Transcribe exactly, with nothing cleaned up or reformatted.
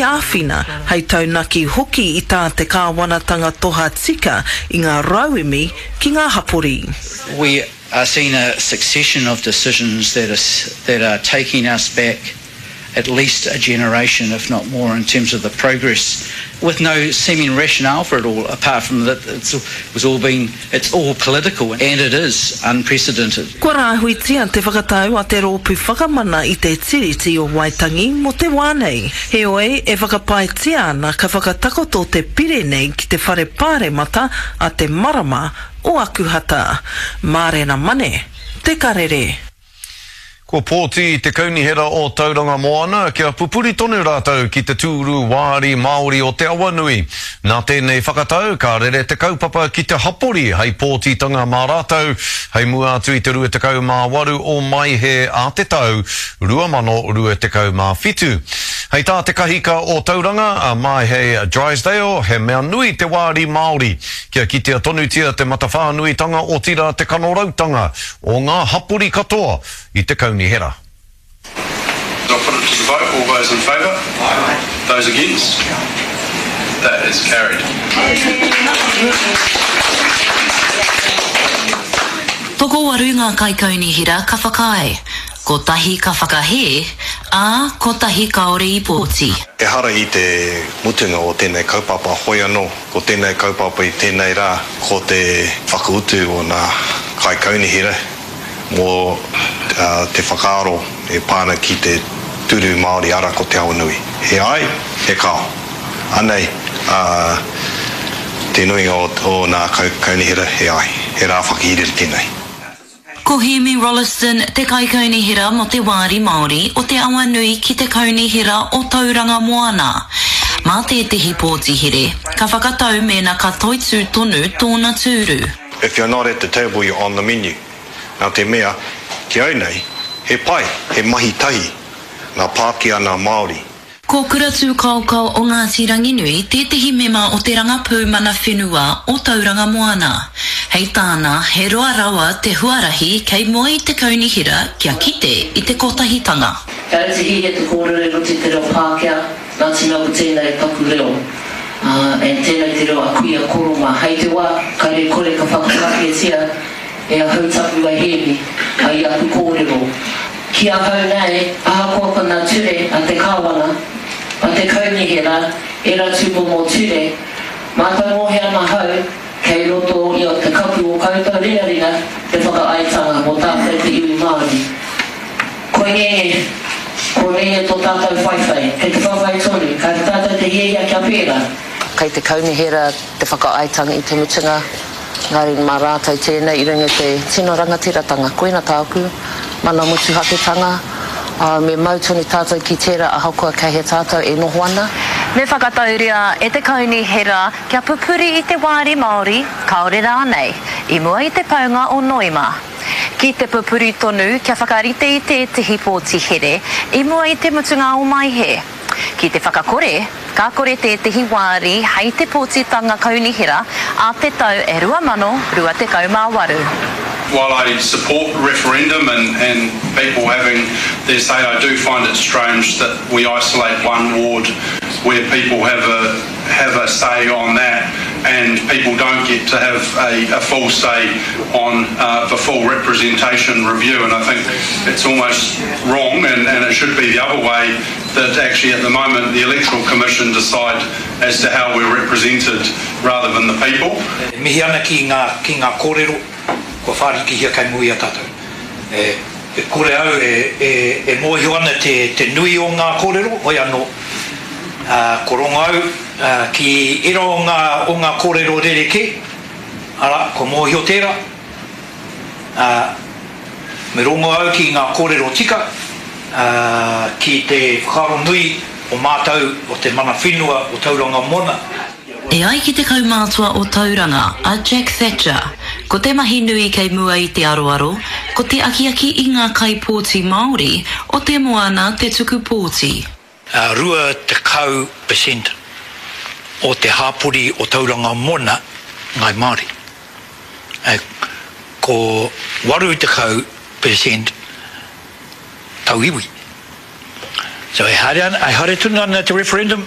hei āwhina, hei taunaki hoki i tā te kāwanatanga toha tika i ngā rauemi ki ngā hapori. We are seeing a succession of decisions that are, that are taking us back at least a generation, if not more, in terms of the progress, with no seeming rationale for it all, apart from that it's, it was all been, it's all political, and it is unprecedented. Kua rāhuitia te whakatau a te rōpū whakamana i te Tiriti o Waitangi mō te wā nei. Heoi, e whakapaetia ana ka whakatakoto te pire nei ki te whare pāremata a te marama o Akuhata. Mārena Mane, Te Karere. Kua pōti te kaunihera o Tauranga Moana kia pupuri tonu rātou ki te tūru wāri Māori o Te Awanui. Nā tēnei whakatau, ka rere te kaupapa ki te hapori hei pōtitanga mā rātou, hei mua atu i te rua tekau mā waru o Maehe a te tau rua mano rua tekau mā whitu. Hei tā te kahika o Tauranga, a Maehe Drysdale, he mea nui te wāri Māori, kia kitea tonutia te matawhānuitanga otirā te kanorautanga o ngā hapori katoa i te kaunihera. I'll put it to the vote. All those in favour? Aye. Those against? That is carried. Tokowaru ngā kaikaunihera ka whakaae, kotahi ka whakahē, ā, kotahi kāore i pōti. Ehara i te mutunga o tēnei kaupapa, hoi anō, ko tēnei kaupapa i tēnei rā, ko te whakautu o ngā kaikaunihera mō te whakaaro e pā ana ki te tūru Māori ara ko Te Awanui. He ai, he kao. Anei te nuinga o ngā kaunihera, he ai. He rā whakahirahira tēnei. Ko Hēmi Rolleston te kaikaunihera mō te Wāri Māori o Te Awanui ki te Kaunihera o Tauranga Moana. Mā tētehi pōti here, ka whakatau mēnā ka toitū tonu tōna tūru. If you're not at the table, you're on the menu. Nā te mea, ki au nei, he pai, he mahi tahi ngā Pākehā nā Māori. Ko Kura Tūkaokao o Ngāti Ranginui tētehi mema o te Rangapū Mana Whenua o Tauranga Moana. Hei tāna, he roa rawa te huarahi kei mua i te kaunihera kia kite i te kotahitanga. Kāre te hiahia te kōrero i roto i te reo Pākehā, nā te mea ko tēnei taku reo, ā, and tēnei te reo a kuia koro mā. Hei te wā, kāre kore ka whakawhanaketia e ahau taku a Hēmi, a i aku kōrero. Ki ahau nei, ahakoa ko ngā ture a te Kāwana, a te Kaunihera, ērā tūmomo ture, mātau ngohe ana ahau kei roto i te kapu o koutou ringaringa te whakaaetanga mō tātou te iwi Māori. Koinei, koinei tō tātou whaiwhai, kei te whawhai tonu, kāre tātou te hiahia kia pērā. Kei te Kaunihera te whakaaetanga i te mutunga, engari mā rātou tēnei i runga i te tino rangatiratanga. Koina tāku mana motuhaketanga, ā, me mau tonu tātou ki tērā ahakoa kei hea tātou e noho ana. Me whakatauria e te Kaunihera kia pupuri i te wāri Māori, kāore rānei, i mua i te paunga o Noema. Ki te pupuri tonu kia whakarite i tētehi pōti here i mua i te mutunga o Maehe. Ki te whakakore, ka kore tētehi wāri hei te pōtitanga kaunihera a te tau e rua mano rua tekau mā waru. While I support referendum and, and people having their say, I do find it strange that we isolate one ward where people have a, have a say on that and people don't get to have a, a full say on, uh, the full representation review. And I think it's almost wrong, and, and it should be the other way, that actually at the moment the Electoral Commission decide as to how we're represented rather than the people. E mihi ana ki ngā, ki ngā kōrero kua whārikihia kei mua i a tātou. E, e kore au e, e, e mōhio ana te, te nui o ngā kōrero, hoi anō, ā, ko rongo au, ā, ki ērā o ngā, o ngā kōrero rerekē, arā, kua mōhio tērā, ā, me rongo au ki ngā kōrero tika, ā, ki te whakaaro nui o mātou o te mana whenua o Tauranga Moana. E ai ki te kaumātua o Tauranga, a Jack Thatcher, ko te mahi nui kei mua i te aroaro, ko te akiaki i ngā kaipōti Māori o te moana te tuku pōti. Rua tekau percent o te hāpori o Tauranga Moana Ngāi Māori. Ko waru tekau percent tauiwi. So e haere ana, e haere tonu ana te referendum.